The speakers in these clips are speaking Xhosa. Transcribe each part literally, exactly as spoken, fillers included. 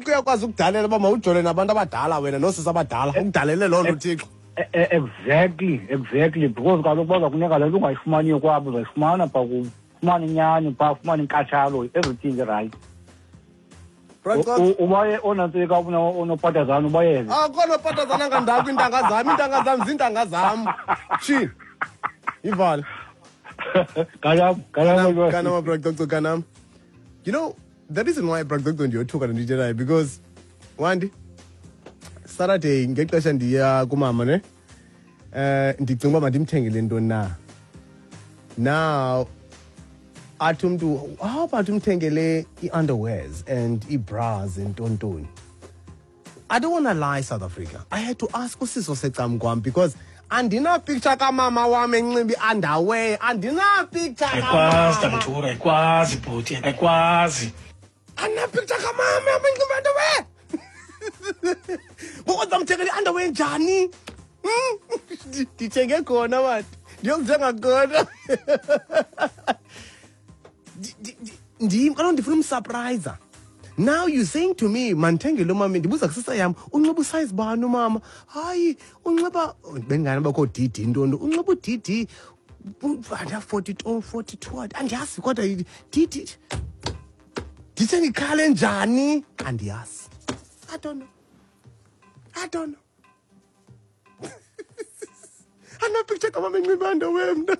Uthixo uyakwazi ukudalela uba mawujole nabantu abadala wena noosisi abadala, ukudalele loo nto uThixo. E- e- exactly exactly because kaloku baza kunika le nto ungayifumaniyo kwabo, uzayifumana phaa kubo, ufumane inyani phaa, ufumane inkathalo, everything right. Bra Cox, Ubaye onantsika onopatazana ubayeke. Akho nopatazana ngandako, iintanga zam, iintanga zam ziintanga zam. Tshini ivale. Kanam, kanam. Kanam, Bra Coco, kanam. You know the reason why, Bra Coco, ndiyothuka ndiyithethayo, because wandi Saturday ngexesha ndiya kumama ne, eh ndicinga uba mandimthengele ntoni na. Now athi umntu, how about umthengele i-underwears and ii-bras and ntontoni? I don't want to lie, South Africa. I had to ask usisi osecam kwam because andina-picture kamama wam enxiba i-underwear. Andina-picture Ayikwazi. kamama. Tamthura, ayikwazi bhuti, ayikwazi. Andina-picture kamama yam enxiba i-underwear. Ngoku ndizamthengela i-underwear njani? Hmm? Ndithenge khona mani. Ndiyokuthenga khona. Ndi- ndi- ndi- Ndim kaloku ndifuna um-surprise. Now you saying to me mandithengele umama, ndibuza kusisa yam, unxiba u-size bani umama? Hayi, unxiba bengane bakho D D ntoni, unxiba u-D D anda forty-two, forty-two, andiyazi kodwa D D. Ndithe ngikhale njani, andiyazi. I don't know, I don't know. Andina-picture kamama enxiba underwear mna.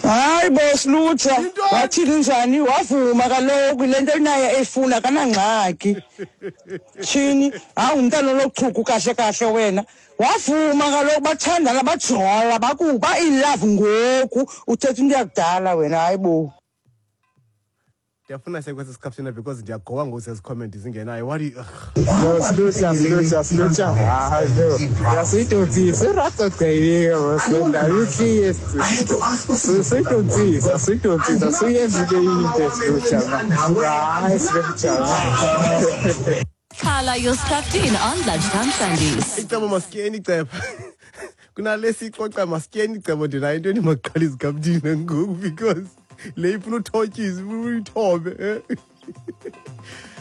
Hayi bo, Silutsha. Yintoni? Wathini njani? Wavuma kaloku le nto naye efuna, kanangxaki. Tshini, hayi, umntana olochuku kahle kahle wena. Wavuma kaloku, bathandana, bajola, bakuba in love ngoku. Uthetha into yakudala wena, hayi bo. Ndiyafuna sekwesi sikhafuthina because ndiyagowa ngoku sezi-comment zingenayo. What do you, ugh. No, Silutsha, Silutsha, Silutsha. Hayi, no. Yasuyidonsisa, iraqogqeyike Silutsha. Ayikhiye. Suyidonsisa, suyidonsisa, suyenza into into Silutsha. Hayi, Silutsha. Khala your Skhaftin on Lunchtime Sundays. Icebo masityeni, icebo kunale siyixoxa, masityeni icebo. Ndinayo into endimaqala izikhafuthina ngoku because le ifuna uthotyiswa, ifuna uyithobe, eh.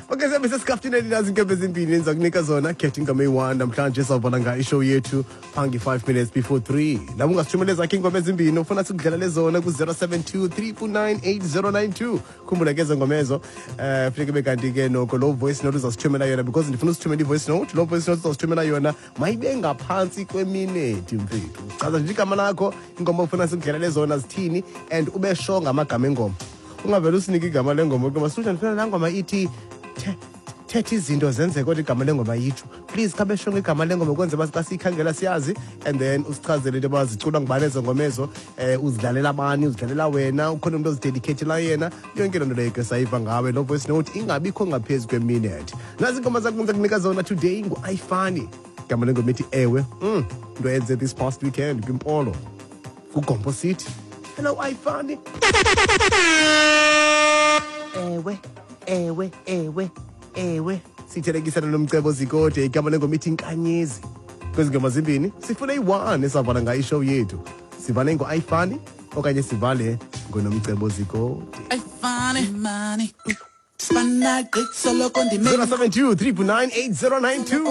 Okay, sihambe sesikhafuthini, ndinazo iinkempe ezimbini endiza kunika zona. Khetha ingoma eyi-one namhlanje sawubona ngayo i-show yethu phangi five minutes before three. Labo ungasithumela ezakho iingoma ezimbini ufuna sikudlalele zona ku-zero seven two three four nine eight zero nine two. Khumbula ke ezo ngoma ezo, um funeka ibe kanti ke noko loo voice note uzasithumela yona, because ndifuna usithumela i-voice note. Loo voice note uzasithumela yona mayibe ngaphantsi kwemineti, mfethu. Chaza nje igama lakho, ingoma ofuna sikudlalele zona zithini, and ube sure ngamagama engoma. Ungavele usinike igama lengoma kuba sutha ndifuna laa ngoma ithi the- thetha izinto zenzeke, kodwa igama lengoma yitsho. Please khabe sho ngegama lengoma kwenze uba xa siyikhangela siyazi, and then usichazele into yoba ziculwa ngubani ezo ngoma ezo, um uzidlalela bani, uzidlalela wena, ukhona umntu ozi-dedicatela yena, yonke loo nto leyo ke sayiva ngawe. Loo voice note ingabikho ngaphezu kwe-minute. Nazi iingoma zakho ndiza kunika zona today. Ngu-Ayifani, igama lengoma ithi Ewe. mm, into eyenze this past weekend kwiMpolo, kuGompo City. Hello, Ayifani. Ewe, ewe, ewe, ewe. Sithelekisana noMcebo Zikode, igama lengoma ithi Inkanyezi. Kwezi ngoma zimbini sifune iyi-one esavala ngayo i-show yethu. Sivale ngo-Ayifani okanye sivale ngoNomcebo Zikode? Ayifani mani. Spanagqi soloko ndime zero seven two three nine eight zero nine two.